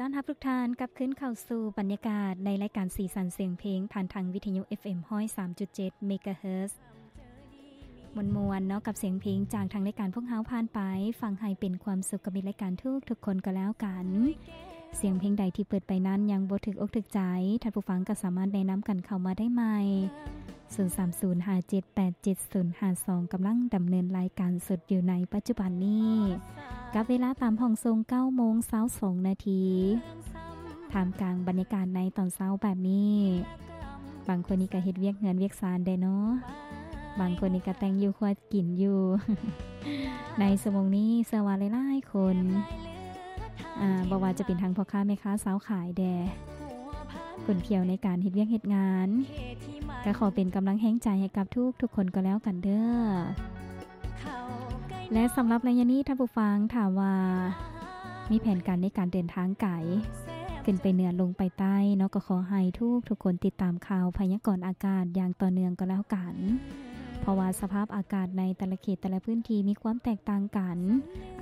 ຕ້ອນຮັບທຸກທ່ານກັບຄືນເຂົ້າສູ່ບັນຍາກາດໃນລາຍການສີສັນສຽງເພງ ຜ່ານທາງວິທະຍຸ ເອັຟເອັມ ຮ້ອຍສາມຈຸດເຈັດ ເມກາເຮີດ. ມ່ວນໆເນາະ ກັບສຽງເພງຈາກທາງລາຍການພວກເຮົາຜ່ານໄປ, ຟັງໃຫ້ເປັນຄວາມສຸກກັບມິດລາຍການທຸກໆຄົນກໍແລ້ວກັນ. ສຽງເພງໃດທີ່ເປີດໄປນັ້ນຍັງບໍ່ຖືກອົກຖືກໃຈ, ທ່ານຜູ້ຟັງກໍສາມາດແນະນຳກັນເຂົ້າມາໄດ້ໃໝ່. ສູນສາມສູນຫ້າເຈັດແປດເຈັດສູນຫ້າສອງ ກຳລັງດຳເນີນລາຍການສົດຢູ່ໃນປັດຈຸບັນນີ້ ກັບເວລາຕາມຫ້ອງສົ່ງເກົ້າໂມງຊາວສອງນາທີ ທ່າມກາງບັນຍາກາດໃນຕອນເຊົ້າແບບນີ້. ບາງຄົນນີ້ກໍເຮັດວຽກເຮືອນວຽກຊານແດ່ເນາະ, ບາງຄົນນີ້ກໍແຕ່ງຢູ່ຄົວກິນຢູ່. ໃນຊົ່ວໂມງນີ້ເຊື່ອວ່າຫຼາຍໆຄົນ ອາ ບໍ່ວ່າຈະເປັນທັງພໍ່ຄ້າແມ່ຄ້າຊາວຂາຍແດ່ ຂົນຂຽວໃນການເຮັດວຽກເຮັດງານ, ກໍຂໍເປັນກຳລັງແຮງໃຈໃຫ້ກັບທຸກໆຄົນກໍແລ້ວກັນເດີ້. ແລະ ສຳລັບໄລຍະນີ້ ທ່ານຜູ້ຟັງ ຖ້າວ່າມີແຜນການໃນການເດີນທາງໄກ ຂຶ້ນໄປເໜືອລົງໄປໃຕ້ເນາະ, ກໍຂໍໃຫ້ທຸກໆຄົນຕິດຕາມຂ່າວພະຍາກອນອາກາດຢ່າງຕໍ່ເນື່ອງກໍແລ້ວກັນ. ເພາະວ່າສະພາບອາກາດໃນແຕ່ລະເຂດແຕ່ລະພື້ນທີ່ມີຄວາມແຕກຕ່າງກັນ,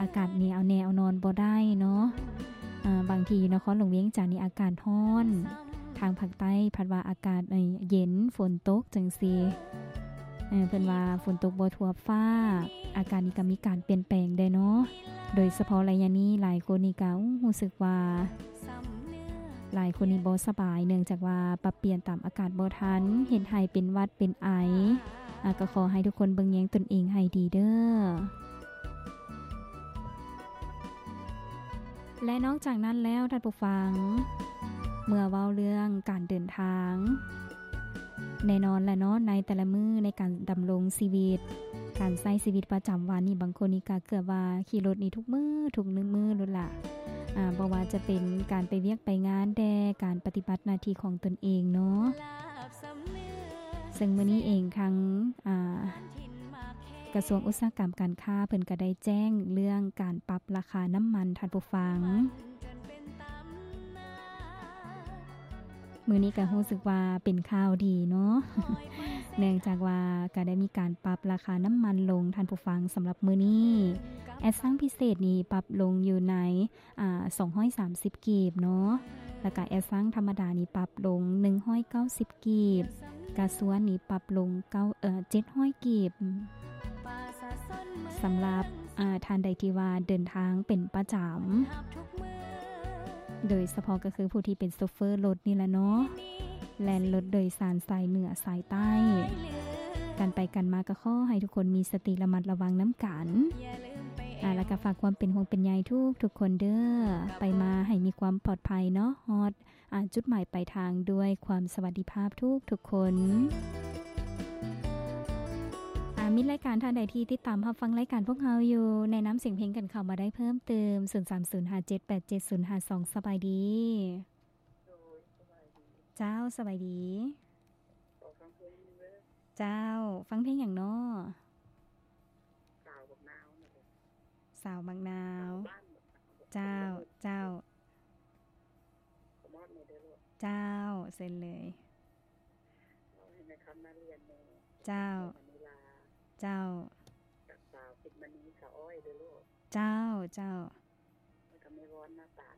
ອາກາດນີ້ເອົາແນ່ເອົານອນບໍ່ໄດ້ເນາະ. ອາ ບາງທີຢູ່ນະຄອນຫຼວງວຽງຈັນນີ້ອາກາດຮ້ອນ, ທາງພາກໃຕ້ພັດວ່າອາກາດ ເອີ ເຢັນ ຝົນຕົກຈັ່ງຊີ້. ເອີ ເພິ່ນວ່າຝົນຕົກບໍ່ທົ່ວຟ້າ, ອາກາດນີ້ກໍມີການປ່ຽນແປງແດ່ເນາະ. ໂດຍສະເພາະໄລຍະນີ້ຫຼາຍຄົນນີ້ກໍ ໂອ້ ຮູ້ສຶກວ່າ ຫຼາຍຄົນນີ້ບໍ່ສະບາຍ ເນື່ອງຈາກວ່າປັບປ່ຽນຕາມອາກາດບໍ່ທັນ, ເຮັດໃຫ້ເປັນຫວັດເປັນໄອ. ອາ ກໍຂໍໃຫ້ທຸກຄົນເບິ່ງແຍງຕົນເອງໃຫ້ດີເດີ້. ແລະ ນອກຈາກນັ້ນແລ້ວ ທ່ານຜູ້ຟັງ ເມື່ອເວົ້າເລື່ອງການເດີນທາງ, ແນ່ນອນແຫຼະເນາະ ໃນແຕ່ລະມື້ໃນການດຳລົງຊີວິດ, ການໃຊ້ຊີວິດປະຈຳວັນນີ້ ບາງຄົນນີ້ກໍເກືອບວ່າຂີ່ລົດນີ້ທຸກມື້ ທຸກມື້ໂລດລະ. ອາ ບໍ່ວ່າຈະເປັນການໄປວຽກໄປງານແດ່, ການປະຕິບັດໜ້າທີ່ຂອງຕົນເອງເນາະ. ເຊິ່ງມື້ນີ້ເອງ ທາງ ອາ ກະຊວງອຸດສາຫະກຳການຄ້າ ເພິ່ນກໍໄດ້ແຈ້ງເລື່ອງການປັບລາຄານ້ຳມັນ ທ່ານຜູ້ຟັງ. ມື້ນີ້ກໍຮູ້ສຶກວ່າເປັນຂ່າວດີເນາະ ເນື່ອງຈາກວ່າກໍໄດ້ມີການປັບລາຄານ້ຳມັນລົງ ທ່ານຜູ້ຟັງ. ສຳລັບມື້ນີ້ ແອດຊັງພິເສດນີ້ປັບລົງຢູ່ໃນ ອາ ສອງຮ້ອຍສາມສິບກີບເນາະ, ແລ້ວກະແອດຊັງທຳມະດານີ້ປັບລົງໜຶ່ງຮ້ອຍເກົ້າສິບກີບ, ກາຊວນນີ້ປັບລົງເກົ້າ ເອີ ເຈັດຮ້ອຍກີບ. ສຳລັບ ອາ ທ່ານໃດທີ່ວ່າເດີນທາງເປັນປະຈຳ ໂດຍສະເພາະກໍຄືຜູ້ທີ່ເປັນໂຊເຟີລົດນີ້ແຫຼະເນາະ, ແລ່ນລົດໂດຍສານສາຍເໜືອສາຍໃຕ້ ກັນໄປກັນມາ ກໍຂໍໃຫ້ທຸກຄົນມີສະຕິລະມັດລະວັງນຳກັນ. ອາ ແລ້ວກໍຝາກຄວາມເປັນຫ່ວງເປັນໃຍທຸກໆຄົນເດີ້, ໄປມາໃຫ້ມີຄວາມປອດໄພເນາະ, ຮອດ ອາ ຈຸດໝາຍປາຍທາງດ້ວຍຄວາມສະຫວັດດີພາບທຸກໆຄົນ. ອາ ມິດລາຍການທ່ານໃດທີ່ຕິດຕາມຮັບຟັງລາຍການພວກເຮົາຢູ່ ແນະນຳສຽງເພງກັນເຂົ້າມາໄດ້ເພີ່ມເຕີມ ສູນສາມສູນຫ້າເຈັດແປດເຈັດສູນຫ້າສອງ. ສະບາຍດີ. ໂດຍ ສະບາຍດີ. ເຈົ້າ ສະບາຍດີ. ຂໍຟັງເພງໜຶ່ງເດີ້. ເຈົ້າ ຟັງເພງຫຍັງເນາະ? ສາວບັກນາວ. ສາວບັກນາວ. ເຈົ້າ ເຈົ້າ. ເຈົ້າ ເຊີນເລີຍ. ເຈົ້າ ເຈົ້າ. ກັບສາວພິດມະນີ ສາວອ້ອຍເດີ້ລູກ. ເຈົ້າ ເຈົ້າ. ແລ້ວກໍແມ່ວອນ ນາຕານ.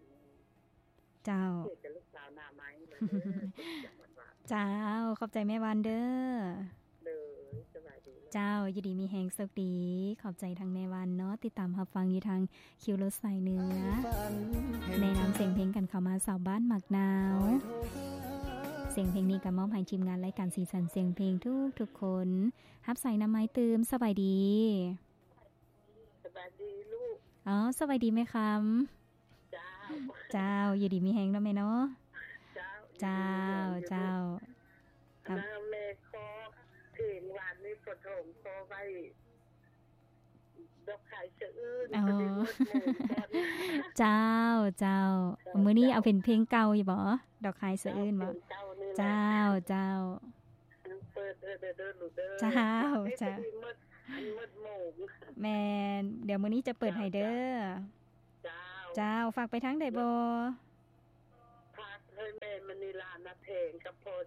ເຈົ້າ ເຈົ້າ ຂອບໃຈແມ່ວອນເດີ້. ເຈົ້າ ຢູ່ດີມີແຮງ ໂຊກດີ. ຂອບໃຈທາງແມ່ວອນເນາະ, ຕິດຕາມຮັບຟັງຢູ່ທາງຄິວລົດສາຍເໜືອ. ແນະນຳສຽງເພງກັນເຂົ້າມາ ສາວບ້ານໝາກນາວ. ສຽງເພງນີ້ກໍມອບໃຫ້ທີມງານລາຍການສີສັນສຽງເພງທຸກໆຄົນ. ຮັບສາຍນຳໄມ້ຕື່ມ. ສະບາຍດີ. ສະບາຍດີລູກ. ອໍ ສະບາຍດີແມ່ຄຳ. ເຈົ້າ ເຈົ້າ ຢູ່ດີມີແຮງເນາະແມ່ເນາະ. ເຈົ້າ ເຈົ້າ ເຈົ້າ. ອັນນັ້ນແມ່ຂໍເພງວານນີ້ ພໍ່ທອງຂໍໄວ້ ດອກຄາຍສະອືນ. ອໍ ເຈົ້າ ເຈົ້າ. ມື້ນີ້ເອົາເປັນເພງເກົ່າຢູ່ບໍ່? ດອກຄາຍສະອືນບໍ່? ເຈົ້າ ເຈົ້າ. ເປີດເດີ້ ເດີ້ລູກເດີ້. ເຈົ້າ ເຈົ້າ. ແມ່ນ ດຽວມື້ນີ້ຈະເປີດໃຫ້ເດີ້. ເຈົ້າ ເຈົ້າ. ຝາກໄປທາງໃດບໍ່? ຝາກໃຫ້ແມ່ມະນີລາ ນາແພງ ກັບພໍ່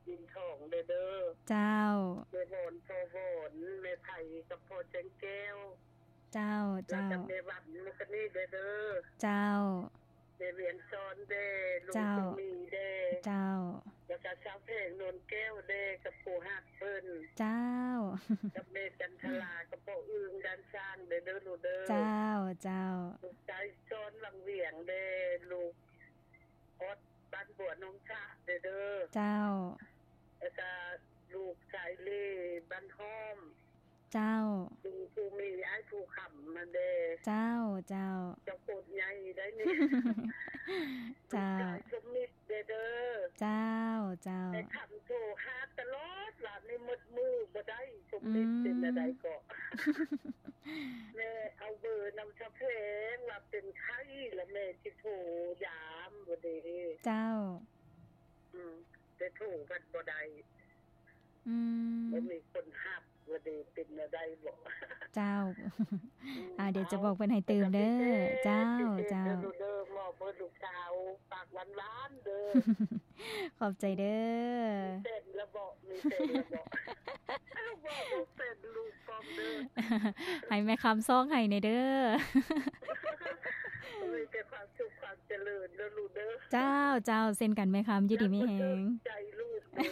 ດິນທອງເດີ້. ເຈົ້າ ແມ່ວອນ ພໍ່ວອນ ແມ່ໄພ ກັບພໍ່ແສງແກ້ວ. ເຈົ້າ ເຈົ້າ. ແລ້ວກໍແມ່ວັນ ມື້ຄືນນີ້ເດີ້. ເຈົ້າ ແມ່ ວຽງຊອນເດ້ ລຸງ ເຈົ້າ ສຸມີເດ້ ເຈົ້າ ແລ້ວກໍສາວແພງ ນວນແກ້ວເດ້ ກັບຜູ້ຮັກເພິ່ນ ເຈົ້າ ກັບແມ່ຈັນທະລາ ກັບພໍ່ອຶ່ງ ດ້ານຊ້າງເດີ ເດີລູກເດີ ເຈົ້າ ເຈົ້າ ລູກຊາຍຊອນ ວັງວຽງເດ້ ລູກອອດ ບ້ານບົວໜອງສະເດີ ເດີ ເຈົ້າ ແລ້ວກໍລູກຊາຍເລ ບ້ານຫ້ອມ ເຈົ້າ ລຸງພູມີ ອ້າຍພູຄຳ ມາເດ້ ເຈົ້າ ເຈົ້າ ເຈົ້າໂຄດໃຫຍ່ໄດ໋ນີ້ ເຈົ້າ ລູກຊາຍສົມມິດເດ້ ເດີ ເຈົ້າ ເຈົ້າ ແມ່ຄຳໂທຫາຕະຫຼອດ ລາວນີ້ໝົດມື້ບໍ່ໄດ້ ສົມມິດ ອືມ ເປັນແນວໃດເກາະ ແມ່ເອົາເບີນຳສາວແພງ ວ່າເປັນໄຂ້ ລະແມ່ຊິໂທຢາມບໍ່ເດ້ ເຈົ້າ ອືມ ແຕ່ໂທພັດບໍ່ໄດ້ ອືມ ບໍ່ມີຄົນຮັບ ວ່າເດເປັນແນວໃດບໍ ເຈົ້າ ອືມ ອ່າ ດຽວຈະບອກເພິ່ນໃຫ້ຕື່ມເດີ ເຈົ້າ ເຈົ້າ ເດີ ເດີ ມອບເພິ່ນລູກສາວ ປາກຫວານໆເດີ ຂອບໃຈເດີ ມີແຟນລະບໍ ມີແຟນລະບໍ ເວົ້າເປັນລູກປ້ອມເດີ ໃຫ້ແມ່ຄຳຊອກໃຫ້ແດ່ເດີ ມີແຕ່ຄວາມສຸກຄວາມ ຈະເລີນເດີລູກເດີ ເຈົ້າ ເຈົ້າ ເຊັ່ນກັນແມ່ຄຳ ຢູ່ດີມີແຮງ ໃຈລູກເດີ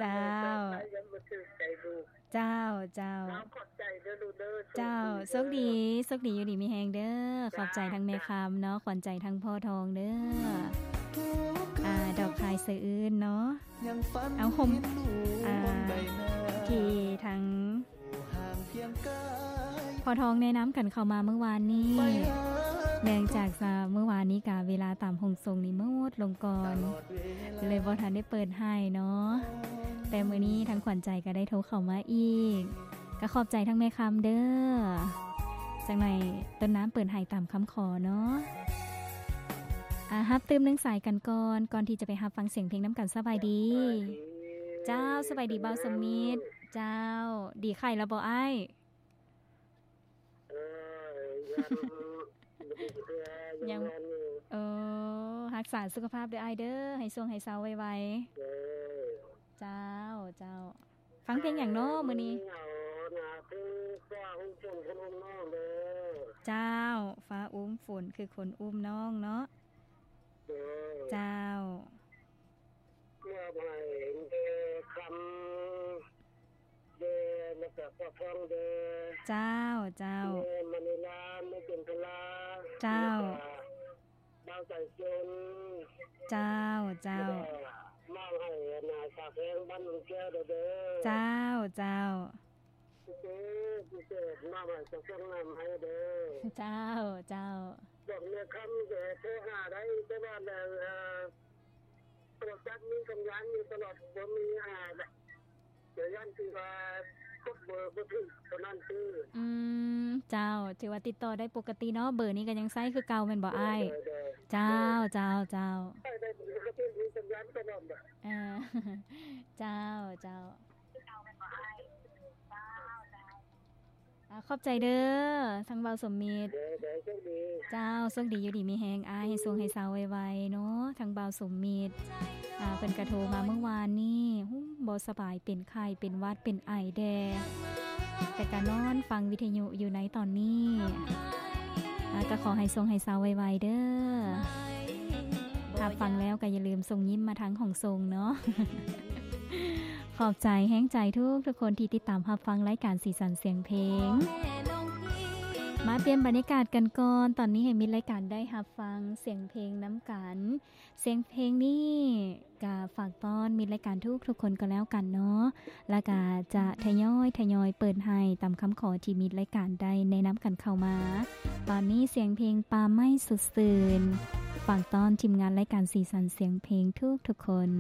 ເຈົ້າ ໃຈລູກ ເຈົ້າ ເຈົ້າ ເອົາ ຂອບໃຈເດີລູກເດີ ເຈົ້າ ໂຊກດີ ໂຊກດີ ຢູ່ດີມີແຮງເດີ ເຈົ້າ ຂອບໃຈທັງແມ່ຄຳເນາະ ຂວັນໃຈທັງພໍ່ທອງເດີ ອ່າ ດອກຄາຍສະອື່ນເນາະ ເອົາ ຄົມ ອ່າ ທີ່ທັງ ພໍ່ທອງແນະນຳກັນເຂົ້າມາມື້ວານນີ້ ເນື່ອງຈາກວ່າມື້ວານນີ້ກະເວລາຕາມຫ້ອງສົ່ງນີ້ໝົດລົງກ່ອນ ເລີຍບໍ່ທັນໄດ້ເປີດໃຫ້ເນາະ ແຕ່ມື້ນີ້ທາງຂວັນໃຈກະໄດ້ໂທເຂົ້າມາອີກ ກະຂອບໃຈທັງແມ່ຄຳເດີ ຈັ່ງໃດຕົ້ນນ້ຳເປີດໃຫ້ຕາມຄຳຂໍເນາະ ອ່າ ຮັບຕື່ມໜຶ່ງສາຍກັນກ່ອນ ກ່ອນທີ່ຈະໄປຮັບຟັງສຽງເພງນຳກັນ ສະບາຍດີ ສະບາຍດີ ເຈົ້າ ສະບາຍດີ ເຈົ້າ ບ່າວສົມມິດ ເຈົ້າ ດີໄຂ້ແລ້ວບໍ່ອ້າຍ? ເອີ ຍັງ ຍັງ ຍັງ ເອີ ຮັກສາສຸຂະພາບເດີອ້າຍເດີ ໃຫ້ຊ່ວງໃຫ້ເຊົາໄວໆ ເອີ ເຈົ້າ ເຈົ້າ ຟັງເພງຫຍັງເນາະມື້ນີ້? ເອົານະ ຄືຟ້າອຸ້ມຝົນຄືຄົນອຸ້ມນ້ອງເດີ ເຈົ້າ ຟ້າອຸ້ມຝົນຄືຄົນອຸ້ມນ້ອງເນາະ ເອີ ເຈົ້າ ມອບໃຫ້ແມ່ຄຳເດີ ແລ້ວກະພໍ່ທອງເດີ ເຈົ້າ ເຈົ້າ ແມ່ມະນີລາ ແມ່ຈັນທະລາ ເຈົ້າ ແລ້ວກະບ່າວໃຈຊົນ ເຈົ້າ ເຈົ້າ ແລ້ວກະມອບໃຫ້ນາສາວແພງບ້ານໜອງແກ້ວເດີ ເຈົ້າ ເຈົ້າ ເຈົ້າ ເຈົ້າ ເຈົ້າ ມອບໃຫ້ເຈົ້າ ສົ່ງນ້ຳໃຫ້ເດີ ເຈົ້າ ເຈົ້າ ບອກແມ່ຄຳເດີ ໂທຫາໄດ້ ແຕ່ວ່າ ເອີ ໂທລະສັບມີສັນຍານຢູ່ຕະຫຼອດ ບໍ່ມີ ອ່າ ແຕ່ຢ້ານທີ່ວ່າກົດເບີບໍ່ຖືກເທົ່ານັ້ນຊື່ ອືມ ເຈົ້າ ຖືວ່າຕິດຕໍ່ໄດ້ປົກກະຕິເນາະ ເບີນີ້ກໍຍັງໃຊ້ຄືເກົ່າແມ່ນບໍ່ອ້າຍ? ໂດຍ ໂດຍ ເຈົ້າ ເຈົ້າ ເຈົ້າ ໃຊ້ໄດ້ປົກກະຕິ ມີສັນຍານຕະຫຼອດ ເອີ ເຈົ້າ ເຈົ້າ ອ່າ ຂອບໃຈເດີ ທັງບ່າວສົມມິດ ເຈົ້າ ໂຊກດີ ຢູ່ດີມີແຮງອ້າຍ ໃຫ້ໂຊກໃຫ້ເຊົາໄວໆເນາະ ທັງບ່າວສົມມິດ ອ່າ ເພິ່ນກະໂທມາມື້ວານນີ້ ຫຸ້ມ ບໍ່ສະບາຍ ເປັນໄຂ້ ເປັນຫວັດ ເປັນໄອແດ່ ແຕ່ກະນອນຟັງວິທະຍຸຢູ່ໃນຕອນນີ້ ອ່າ ກະຂໍໃຫ້ໂຊກໃຫ້ເຊົາໄວໆເດີ ຖ້າຟັງແລ້ວກະຢ່າລືມສົ່ງຍິ້ມມາທາງຫ້ອງສົ່ງເນາະ. ຂອບໃຈແຮງໃຈທຸກໆຄົນທີ່ຕິດຕາມຮັບຟັງລາຍການສີສັນສຽງເພງ. ມາປ່ຽນບັນຍາກາດກັນກ່ອນ, ຕອນນີ້ໃຫ້ມິດລາຍການໄດ້ຮັບຟັງສຽງເພງນຳກັນ. ສຽງເພງນີ້ກະຝາກຕ້ອນມິດລາຍການທຸກໆຄົນກໍແລ້ວກັນເນາະ, ລະກະຈະທະຍອຍ ທະຍອຍເປີດໃຫ້ຕາມຄຳຂໍທີ່ມິດລາຍການໄດ້ແນະນຳກັນເຂົ້າມາ. ຕອນນີ້ສຽງເພງປ່າໄມ້ສົດຊື່ນ ຝາກຕ້ອນທີມງານລາຍການສີສັນສຽງເພງທຸກໆຄົນ.